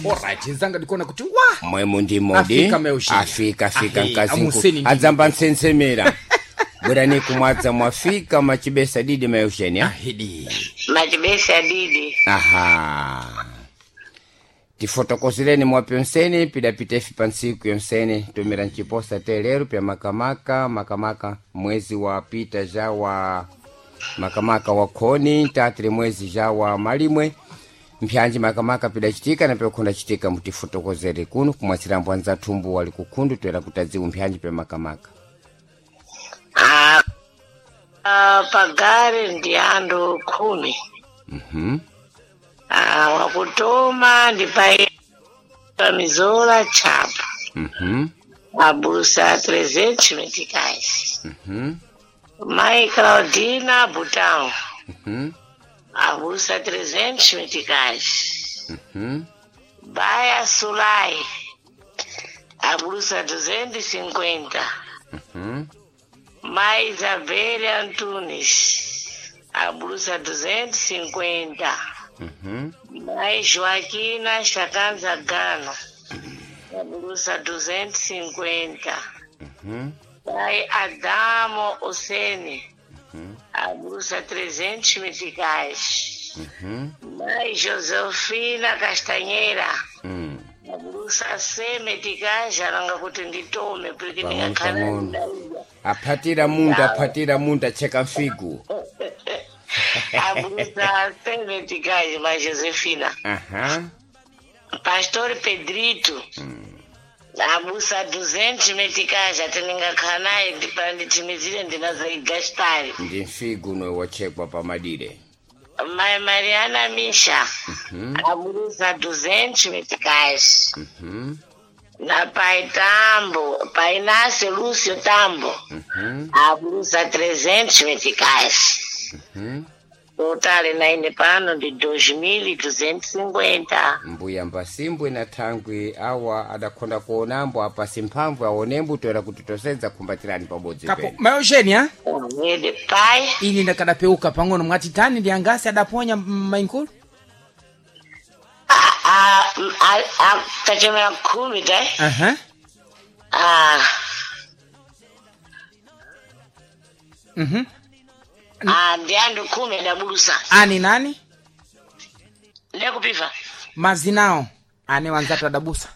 Alright, nzanga ndikuona kuti wa Mwemu ndi modi. Afika Meushini. Afika afika Ahe, mkazi amuseni nku ndi- adzamba nsensemera. Bwerani kumwadza mwafika machibesa didi Meusheni. Ahidi. Machibesa didi. Aha. Tifotokozereni mwapyonseni pidapita ifi pa ntsiku yonsene tumira mchiposa telero pya makamaka makamaka mwezi wa pita ja wa makamaka wa khoni tatire mwezi ja wa malimwe mpyanji makamaka pidachitika na pyakhunda chitika mutifotokozere kuno kumwatsirambo anzathumbu wali kukhundu toera kutadziwu mpyanji pya makamaka. Ah, ah, pagari ndi anthu 10. Ah, wakutoma ndi pa mizola chapo. Abusa 300 meticais. Mai Claudina Butão. Abusa 300 meticais. Baia Sulai. Abusa 250. Mai Isabel Antunes. Abusa 250. Mai Joaquina Chakanza Gano. Abusa 250. Mai Adamo Osene. Abusa 300 meticais. Mai Josefina Castanheira. Abusa 100 meticais alanga kuti nditome porque Pang'ono ndingakhala pang'ono. ndidaiya. Aphatira munda aphatira munda cheka mfigu. Abusa 100 meticais, mai Josefina. Aha. Pastor Pedrito. Abusa 200 meticais ati ndingakhala naye ndipanditimizire ndinazoigastari. Ndi mfigu nowe wachekwa pamadire. Mai Mariana Misha. Abusa 200 meticais. Na pai Tambo, pai Inácio Lúcio Tambo. Abusa 300 meticais. Total na ine pano ndi 2250. Mbuya mbasimbwe na thangwi awa adakhonda kuonambo apa simphamvu aonembo toera kuti tosedza khumbatirani pabodzi Kapo pene. Mayosheni Ede pai ini ndakadapeuka pang'ono mwati tani ndi angasi adaponya mainkulu. Kachemera 10 tai. Aha. Ah, ah, ndi anthu 10 adabulusa. Ani nani? Ndekupiva. Mazinao ane wanzatu adabusa.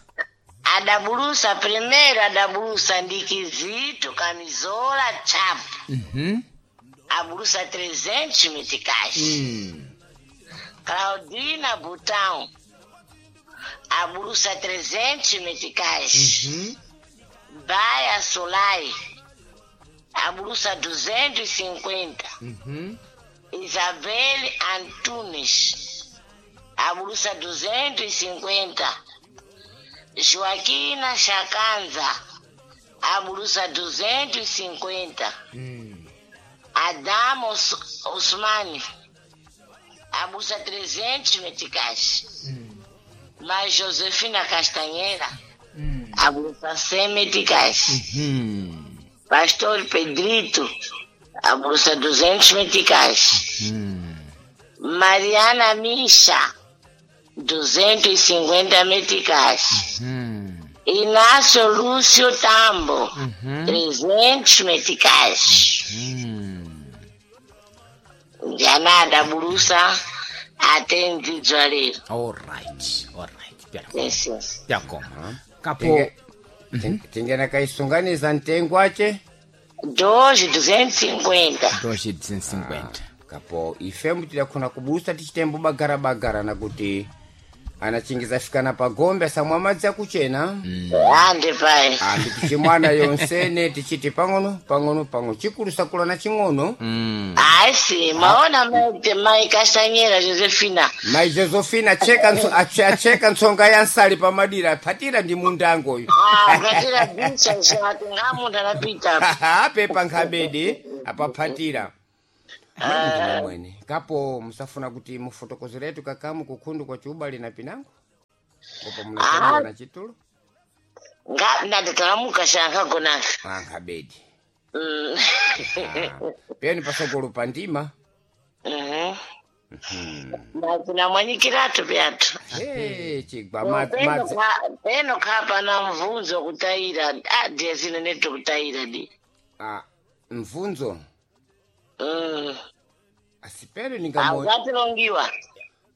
Adabulusa primeiro adabulusa ndi Kizito Kamizola Chapo. Abulusa 300 meticais. Claudina Butão. Abulusa 300 meticais. Baia Solai. Abulusa 250. Isabel Antunes. Abulusa 250. Joaquina Chakanza. Abulusa 250. Adamo Osmani. Abusa 300 meticais. Mas Josefina Castanheira. Abusa 100 meticais. Pastor Pedrito. Abusa 200 meticais. Mariana Misha. 250 meticais. Inácio Lúcio Tambo. 300 meticais. Ndianada bulusa atendzidzwa lero. Alright, alright. Pyakoma. Yes, yes. Pyakoma. Kapo Tingena kaisunganiza mtengo ache. Doze 250. 250. Kapo ifembu tidakhona kubusa tichitembo bagara bagara nakuti anachingiza fikana pagombe asamwa madzi akuchena. Ande pai. Ati tichimwana yonsene tichiti pang'ono pang'ono pang'ono chikulu sakula na ching'ono. Asi, maona mai Castanheira Josefina. Mai Josefina acheka acheka ntsonga ya nsali pamadira aphatira ndi mundangoyo. Ah, patira bicha zvati ngamunhu anapita. Apepa nkhabedi apaphatira. Mwene mwene kapo musafuna kuti mufotokozeretu kakamu kukhundu kwa chiubali na pinango kopo munachelewa na chitulo. Nga ndatalamuka shankagonafe. Ankhabedi. Peni pasogolo pandima. Natinamwanyikiratu pyathu. Hey, chigwa madzi Peno khapana mvunzo kutayira adiyesine neto kutayira di. Ah, mvunzo Mm. asi peno ningamo Aukatilongiwa.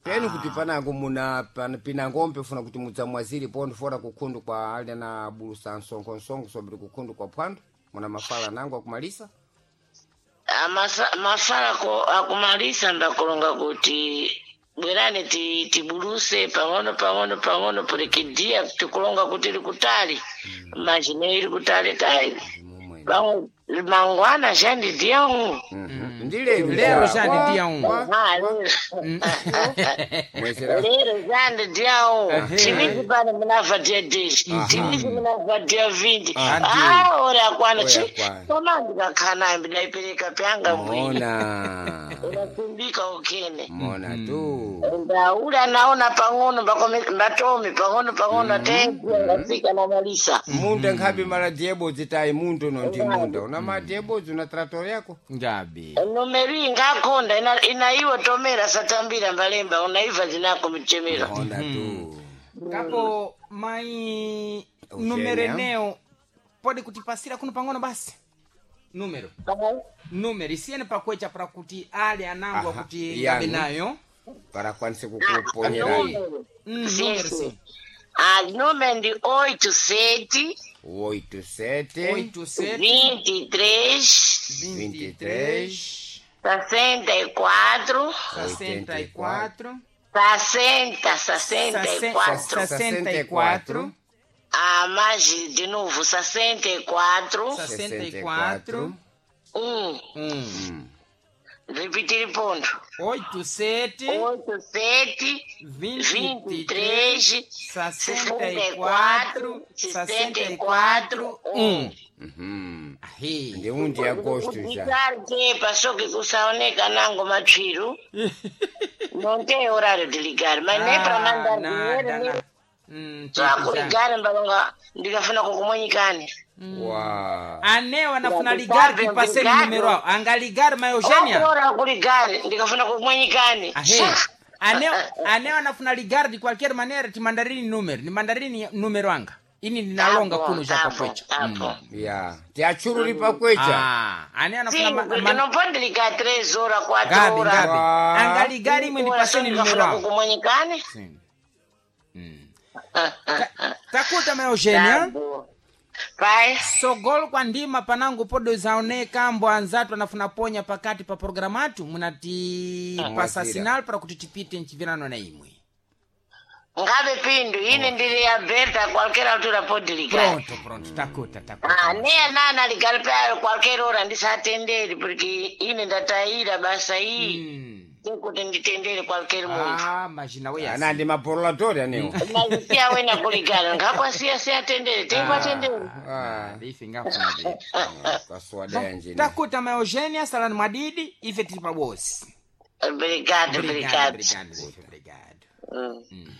peno kuti panango muna pina ngombe funa kuti mudzamwaziri pondo fora kukhundu kwa ali na bulusa msonkhonsongo sobri kukhundu kwa phwando muna mafala nango akumalisa. Mafala akumalisa ndakulonga kuti bwerani tibuluse pang'ono pang'ono pang'ono pulikidia tikulonga kuti likutali manje ili kutali tali. Ndimomwe. Pamwe mangwana shandidia umu. Mhm. Ndi lero. Lero shandidia umu. Mwezera. Lero shandidia umu. Ehe. Chivisi pano munabva dia 10, chivisi munabva dia 20. Andi. Ah, ora akwana. Ora akwana. Koma ndikakhala ndaipereka pyanga mbwini. Mona. Unatumbika ukene. Mona tu. Ndaula naona pang'ono mbatome pang'ono pang'ono atengafika namalisa. Munda nkhabe mala diebodzi tayi mundu no ndi munda una madiebodzi una trator yako. Ngabe. Numeri ngakonda ina iwo tomera satambira mbalemba unaiva zinako mchemero. Mona tu. Kapo mai Eugenia. numero eneo pode kutipasira kuno pang'ono basi. Numero. Numero isiyeni pakwecha para kuti ali anangwa Aha, kuti yanu. ngabe nayo. Para kwanise kukuponyerani. Numero sim. Ah, número ndi 87 87 87 23 23 64 64 60 64. 64 Ah, mais de novo 64 64 1. 1 Repetir ponto. 87 87 23 23 64 64 1. Mhm. Ahe. Ndi undi agosto já. Ligar passou que kusaoneka nango matsviru. Não tem horário de ligar, mas nem para mandar nada, dinheiro, nem nada. Hum, só kuligar mbalonga ndikafuna kukumwenyikani. Wa. Aneo anafuna ligar tipaseni Obrigado. numero ao. Angaligar ma Eugenia. Ora kuligar ndikafuna kukumwenyikani. Ahe. Aneo anafuna ligar de qualquer maneira timandarini número. Nimandarini número anga. Ini ninalonga kuno já pakwecha. Tá bom. Ya. Tiachururi pakwecha. Ah, aneo anafuna Sim, porque não pode ligar 3 horas, 4 Gabi, horas. Gabi. Ah. Angaligar imwe ndipaseni número Ndikafuna ao. kukumwenyikani. Sim. Takuta ma Eugenia. Tá bom. Vai. Sogolo kwa ndima panango podo zaoneka mbo anzatu anafuna ponya pakati pa programa atu munati pasa Mwazira. sinal para kuti tipite nchivirano na imwe. Ngabe pindu, ine ndiri ya Berta, qualquer altura pode ligar. Pronto, pronto, takuta, takuta. Ah, ne nana ligar pa qualquer hora ndisatenderi porque ine ndataira basa iyi. Kuti nditendere qualquer munthu. Ah, imagina we Ana ndi maporoladori anewo. Mazisiya wena kuligara ngakwasiya siyatendere teikwatendere. Ah. Ife ngafuna be. Kaswada yanjini. Takuta ma Eugenia salani mwadidi ife tili pabosi. Obrigado, obrigado. Obrigado, obrigado. Mm.